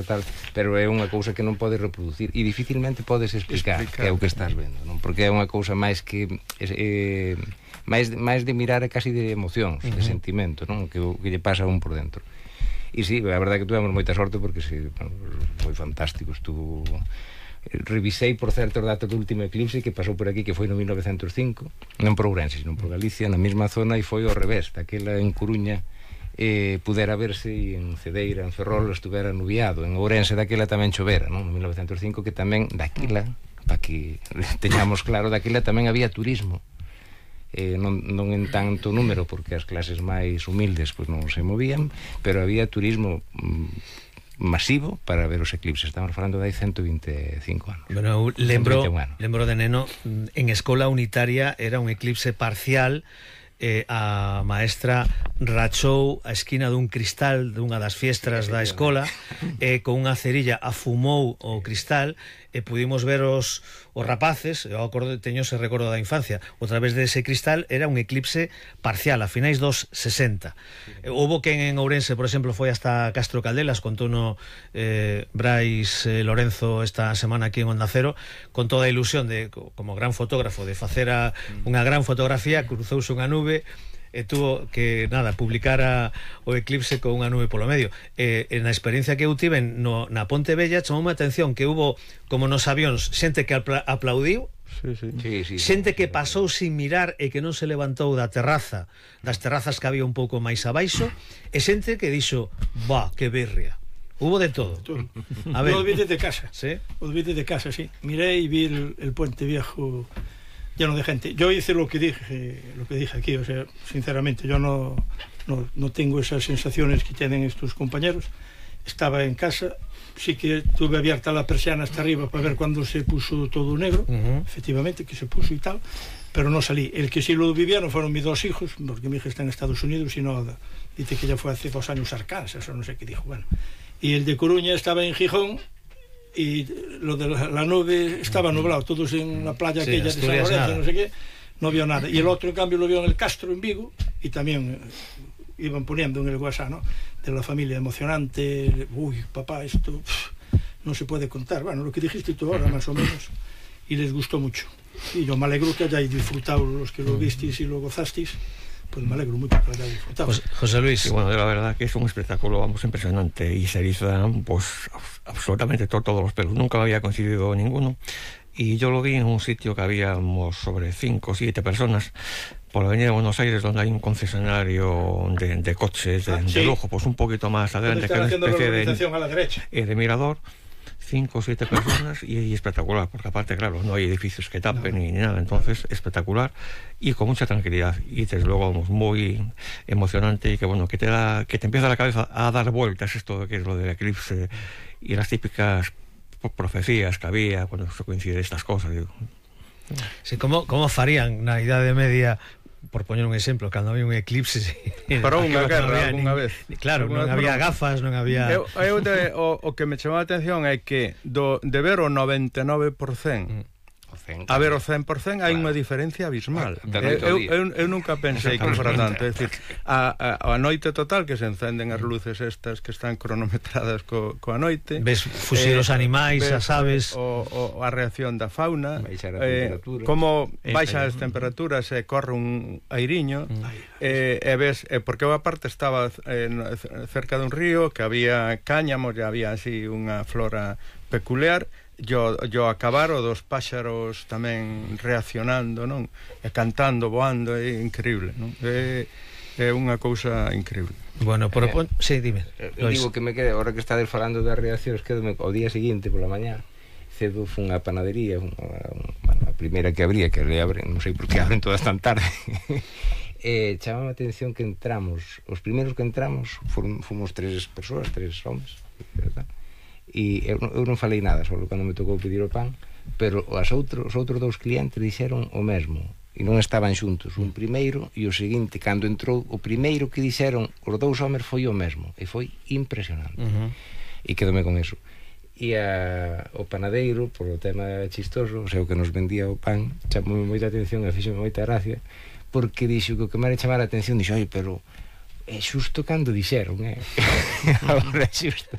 tal, pero é unha cousa que non podes reproducir e dificilmente podes explicar que é o que estás vendo, non? Porque é unha cousa máis que máis de mirar e casi de emocións, de sentimento, non? Que lle pasa a un por dentro. E sí, a verdade é que tuvemos moita sorte porque foi fantástico. Revisei, por certo, os datos do último eclipse que pasou por aquí, que foi no 1905, non por Ourense, sino por Galicia, na mesma zona, e foi ao revés, daquela en Coruña pudera verse, e en Cedeira, en Ferrol estuvera nubiado, en Ourense daquela tamén chovera, non? No 1905, que tamén daquela, para que teñamos claro, daquela tamén había turismo, non en tanto número, porque as clases máis humildes pois non se movían, pero había turismo masivo para ver os eclipses. Estamos falando de hai 125 anos. Bueno, lembro de neno, en escola unitaria era un eclipse parcial. A maestra rachou a esquina dun cristal dunha das fiestras da escola con unha cerilla afumou o cristal e pudimos ver os rapaces. Eu teño ese recordo da infancia, a través dese cristal. Era un eclipse parcial a finais dos 60. Houbo quen en Ourense, por exemplo, foi hasta Castro Caldelas, contouno Brais Lorenzo esta semana aquí en Onda Cero, con toda a ilusión de, como gran fotógrafo, de facer unha gran fotografía. Cruzouse unha nube e tuvo que, publicar o eclipse con unha nube polo medio. Na experiencia que eu tive na Ponte Vella, chamoume a atención que hubo, como nos avións, xente que aplaudiu, xente que pasou sin mirar e que non se levantou das terrazas que había un pouco máis abaixo, e xente que dixo, que birria. Hubo de todo. A ver, os vídeos de casa. ¿Sí? Os vídeos de casa, sí. Miré y vi el puente viejo lleno de gente. Yo hice lo que dije aquí, o sea, sinceramente, yo no tengo esas sensaciones que tienen estos compañeros. Estaba en casa, sí que tuve abierta la persiana hasta arriba para ver cuando se puso todo negro, efectivamente, que se puso y tal, pero no salí. El que sí lo vivieron fueron mis dos hijos, porque mi hija está en Estados Unidos y no, dice que ya fue hace 2 años a Arkansas, o no sé qué dijo, bueno. Y el de Coruña estaba en Gijón, y lo de la nube estaba nublado, todos en la playa aquella de San Lorenzo, no sé qué, no vio nada. Y el otro, en cambio, lo vio en el Castro, en Vigo, y también iban poniendo en el WhatsApp, ¿no?, de la familia emocionante. Uy, papá, esto no se puede contar. Bueno, lo que dijiste tú ahora, más o menos, y les gustó mucho. Y yo me alegro que hayáis disfrutado, los que lo visteis y lo gozasteis. Pues me alegro mucho que lo hayáis disfrutado. José Luis. Sí, bueno, la verdad que es un espectáculo, impresionante, y se erizan pues absolutamente todos los pelos. Nunca había coincidido ninguno, y yo lo vi en un sitio que habíamos sobre 5 o 7 personas por la avenida de Buenos Aires, donde hay un concesionario de coches de lujo, pues un poquito más adelante, que es una especie de mirador. 5 o 7 personas y espectacular, porque aparte, claro, no hay edificios que tapen ni nada, entonces espectacular y con mucha tranquilidad, y desde luego muy emocionante, y que bueno, que te empieza la cabeza a dar vueltas esto que es lo del eclipse y las típicas profecías que había cuando se coinciden estas cosas. Digo. Sí, como farían na Idade Media, por poñer un exemplo, cando había un eclipse para unha guerra algunha vez. Claro, non había gafas, non había... O que me chamou a atención é que de ver o 99% a ver o 100% hai unha diferencia abismal. Eu nunca pensei que fora tanto. É dicir, a noite total, que se encenden as luces estas que están cronometradas coa noite, ves fuxir os animais, as aves, a reacción da fauna, como baixa as temperaturas e corre un airiño, e ves, porque eu aparte estaba cerca dun río que había cáñamos e había así unha flora peculiar. Yo acabar o dos páxaros tamén reaccionando, non? E cantando, voando, é increíble, non? É unha cousa increíble. Bueno, sí, dime. Digo que me quede, ahora que estades falando das reaccións, quedome o día seguinte pola mañá, cedo fun a panadería, a primeira que abría, que le abren, non sei por que abren todas tan tarde. Chamame a atención que entramos, os primeiros que entramos fomos 3 persoas, 3 homes, verdad? E eu non falei nada, só cando me tocou pedir o pan, pero os outros 2 clientes dixeron o mesmo, e non estaban xuntos, un primeiro e o seguinte. Cando entrou o primeiro que dixeron os 2 homes foi o mesmo, e foi impresionante. E quedome con eso. E o panadeiro, por o tema chistoso, o sea, o que nos vendía o pan, chamou moita atención e fixome moita gracia, porque dixo que o que me era chamar a atención, dixo, oi, pero é xusto cando dixeron, agora é xusto.